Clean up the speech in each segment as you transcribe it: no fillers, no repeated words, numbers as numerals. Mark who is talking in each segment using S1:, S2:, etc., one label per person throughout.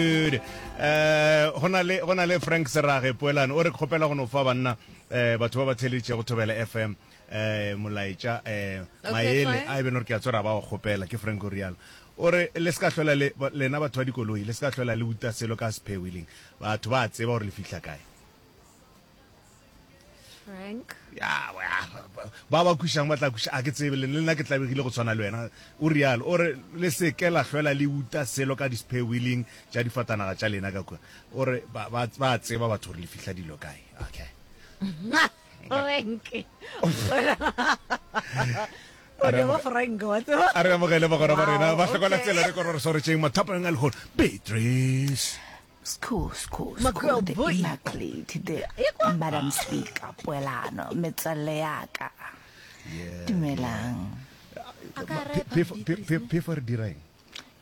S1: Good. Eh, go na le go na le Frank Serage Poelane o re kgopela go no fa banna eh batho ba ba theleditšego Thobela FM eh molaetša eh
S2: Okay,
S1: maele
S2: fine.
S1: a e beno re ke a tswera ba go kgopela ke Frank o rialo. O re le se ka hlola le lena batho ba dikoloi le se ka hlola le uta selo ka spare wheeling. Batho ba a tseba gore le fihla kae.
S2: Frank.
S1: Ya, ya, ba ba kwišang ba tla kwiša a ke tsebe le nna ke tlabegile go tshwana le wena o rialo o re le se ke la hlwela le uta selo ka di-spare wheeling tša difatanaga tša lena ka kua o re ba, ba, ba tseba batho gore le fihla dilo kae okay
S2: Frank. O ne ba Frank wa tseba.
S1: A re amogele bagwera ba rena ba hlokola
S2: okay.
S1: tsela re kore re swaretšeng mathapeng a lehono Beatrice
S3: School, school,
S2: My
S3: school,
S2: girl
S3: the
S2: boy.
S3: immaculate, the Madam Speaker, poelano, metswalle ya ka. Dumelang.
S2: A ka repa
S1: Phefo-
S2: Beatrice,
S1: phe- phe- phefo re dira eng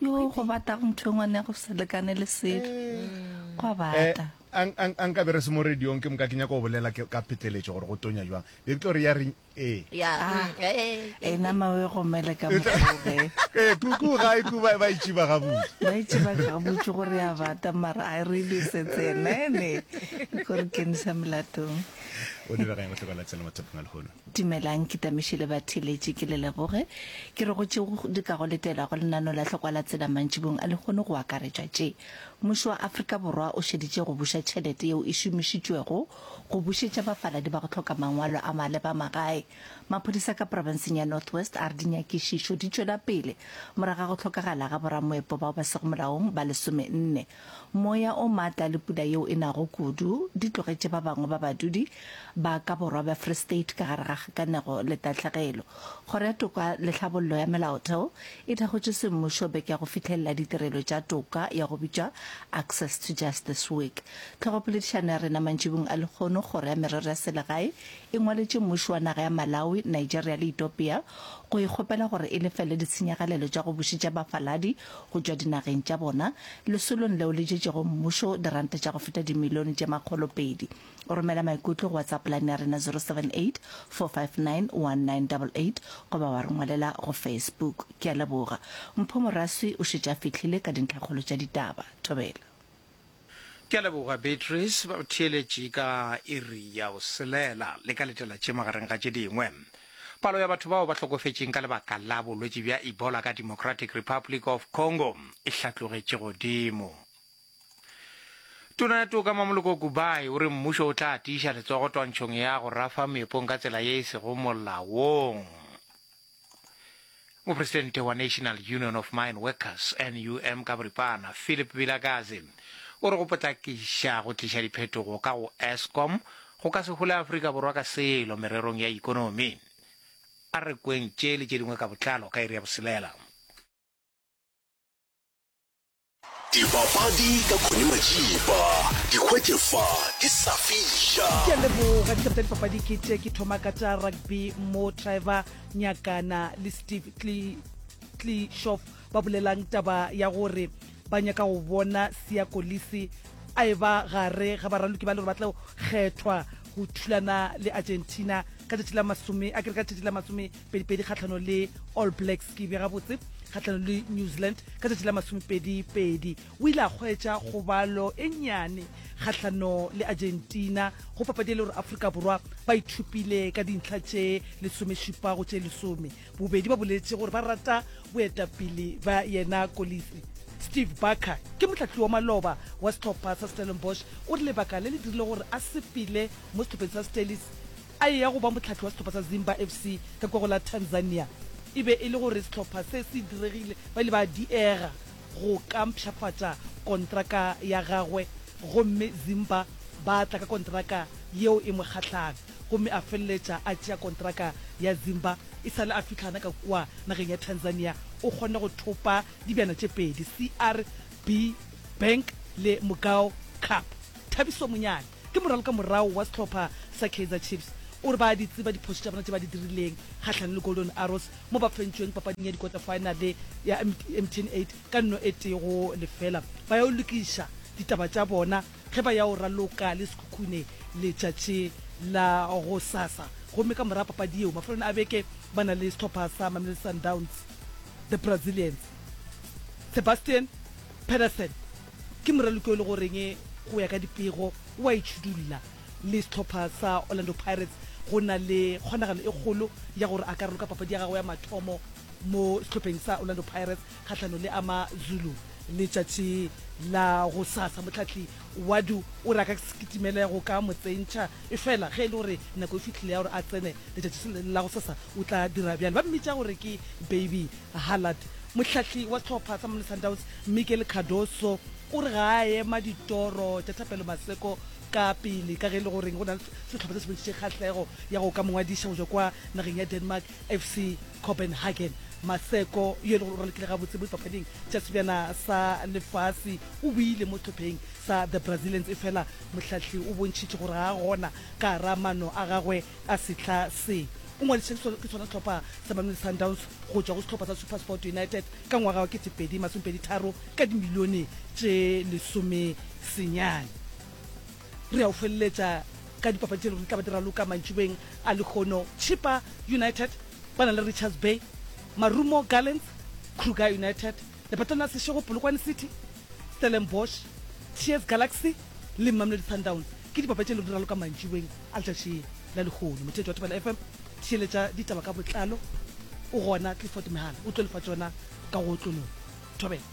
S3: Yo go bata go ntho e ngwane ya go se lekane le selo. Go a
S1: Eh,
S3: bata.
S1: a a- a nka be re se mo radiong ke moka ke nyaka go bolela ke- ka pheteletšo gore go tonya jwang be ke tlo re ya re Ee.
S2: Ya.
S3: Ah,
S2: mm,
S3: e nama o e gomele ka mokgoge.
S1: Ee, kuku ga e ku ba ba itšiba gabotse.
S3: Ba itšiba gabotse gore ya bata mara a re lesetse nene ko re kenisa molatong.
S1: O dira gang go hloka la tsela mathapong a lehono?
S3: Dumelang ke tamiše le batheletši ke le leboge. Ke re go tšeo di ka go letela go lenano la hlokwa la tsela mantšibong a lehono go akaretšwa tše. Mmušo wa Afrika Borwa o šeditše go buša tšhelete yeo e šomišitšwego go bušetša bafaladi ba go hloka mangwalo a maleba magae. Maphodisa ka profenseng ya North West a re dinyakišišo di tšwela pele morago ga go hlokagala ga boramoepo bao ba sego molaong ba lesomenne. Moya o maatla le pula yeo e nago kudu di tlogetše ba bangwe ba badudi ba ka borwa bja Free State ka gare ga kgakanego le tahlegelo. Kgoro ya Toka le Tlhabollo ya Melaotheo e thakgotše semmušo beke ya go fihlelela ditirelo tša toka ya go bitšwa Access to Justice Week. Tlhogopoledišano ya rena mantšibong a lehono, Kgoro ya Merero ya Selegae e ngwaletše mmušo wa naga ya Malawi, Nigeria le Etopia go e kgopela gore e lefele ditshenyagalelo tša go bušetša bafaladi go tšwa dinageng tša bona lesolong leo le jetšego mmušo diranta tša go feta dimilione tše makgolopedi. O romela maikutlo go WhatsApp line ya rena 078 459 1988 goba wa re ngwalela go Facebook. Ke a leboga. Mpho Moraswi o šetše a fihlile ka dintlhakgolo tša ditaba. Thobela.
S4: Ke a leboga Beatrice, ba theeletše ka iri ya boselela. Le ka letela tše magareng ga tše dingwe. Palo ya batho bao ba hlokofetšeng ka lebaka la bolwetši bja Ebola ka Democratic Republic of Congo e hlatlogetše godimo. Tona ya Toka Mamoloko Kubayi o re mmušo o tla tiiša letsogo twantšhong ya go rafa meepong ka tsela ye e sego molaong. Mopresidente wa National Union of Mine Workers, NUM ka boripana, Philip Vilakazi, o re go potlakiša go tliša diphetogo ka go Eskom go ka se hole Afrika Borwa ka selo mererong ya ikonomi. A re kweng tše le tše dingwe ka botlalo ka iri ya boselela.
S5: Dipapadi ka Connie Majiba, di hwetše fa di sa fiša.
S6: Ke a leboga. Ditaba tša dipapadi ke tše, ke thoma ka tša rugby mo Trevor Nyakana le Steve Klishoff ba bolelang taba ya gore ba nyaka go bona Siya Kolisi a eba gare ga baraloki ba le gore ba tlo kgethwa go thulana le Argentina ka tšatši la masome a kere ka tšatši la masomepedipedi kgahlano le All Blacks ke be gabotse kgahlanong le New Zealand ka tšatši la masomepedi-pedi. O ile a hwetša kgobalo e nnyane kgahlano le Argentina go papadi e le gore Afrika Borwa ba ithupile ka dintlha tše lesomešupa go tše lesome. Bobedi ba boletše gore ba rata boetapele bja yena Kolisi. Steve Barker ke mohlahli wa maloba wa sehlopha sa Stellenbosch o re lebaka le le dirile gore a sepele mo sehlopheng sa Stellies a eya go ba mohlahli wa sehlopha sa Zimba FC ka kua go la Tanzania. E be e le gore sehlopha se se diregile, ba ile ba diega go ka mpshafatša kontraka ya gagwe gomme Zimba ba tla ka kontraka yeo e mo kgahlang gomme a feleletša a tšea kontraka ya Zimba. E sa le a fihla gana ka kua nageng ya Tanzania o kgonne go thopa dibjana tše pedi, CRB Bank le Mugao Cup. Thabiso Monyane. Ke moralokamorago wa sehlopha sa Kaizer Chiefs o re ba a di tseba diphošo tša bona tše ba di dirileng kgahlanong le Golden Arrows mo ba fentšweng papading ya dikota-faenale ya MTN eight ka nno e tee go lefela. Ba ya go lokiša ditaba tša bona ge ba ya go raloka le Sekhukhune letšatši la gosasa gomme ka morago papadi yeo mafelong a beke ba na le sehlopha sa Mamelodi Sundowns, The Brazilians. Sebastian Pedersen. Ke moraloki yo e le goreng go ya ka dipego o a itšhudulla le sehlopha sa Orlando Pirates. Go na le kgonagalo e kgolo ya gore a ka raloka papadi ya gagwe ya mathomo mo sehlopheng sa Orlando Pirates kgahlanong le AmaZulu letšatši la gosasa. Mohlahli Wadu o re a ka se kitimele go ka mo tsentšha, efela ge e le gore nako e fihlile ya gore a tsene letšatši la gosasa o tla dira bjalo. Ba mmitša gore ke Baby Haaland. Mohlahli wa sehlopha sa Mamelodi Sundowns, Miguel Cardoso, o re ga a ema ditoro tša Thapelo Maseko ka pele ka ge e le gore go na le sehlopha se se bontšhitše kgahlego ya go ka mo ngwadiša go tšwa kwa nageng ya Denmark, FC Copenhagen. Maseko, yo e le gore o ralokile gabotse mo dipapading tša Sebjana sa Lefase, o boile mo sehlopheng sa The Brazilians efela mohlahli o bontšhitše gore ga a gona ka gara maano a gagwe a sehla se. O ngwadišitše ke sona sehlopha sa Mamelodi Sundowns go tšwa go sehlopha sa SuperSport United ka ngwaga wa 2023 ka dimilione tše lesomesenyane. Re ya go feleletša ka dipapadi tše e lego di tla ba di raloka mantšiboeng a lehono. Chippa United ba na le Richards Bay, Marumo Gallants, Kruger United, Lepatlana la Seshego, Polokwane City, Stellenbosch, TS Galaxy le Mamelodi Sundowns ke dipapadi tše e lego di raloka mantšiboeng a letšatši la lehono. Motheetši wa Thobela FM, theeletša ditaba ka botlalo. O gona Clifford Mehala o tlo le fa tšona ka go otlologa. Thobela.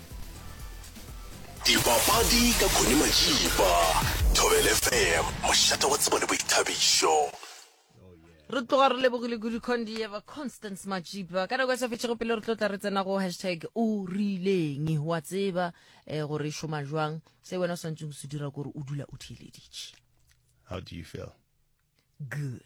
S5: Dipapadi ka Connie Majiba, Thobela FM, mošate wa tsebo le boithabišo.
S7: Re tloga re lebogile kudu Condieva Constance Majiba. Ka nako e sa fetšego pele re tlo tla re tsena go hashtag o rileng wa tseba eh, gore e šoma jwang. Se wena o swanetšeng go se dira ke gore o dula o theeleditše.
S1: How do you feel?
S7: Good.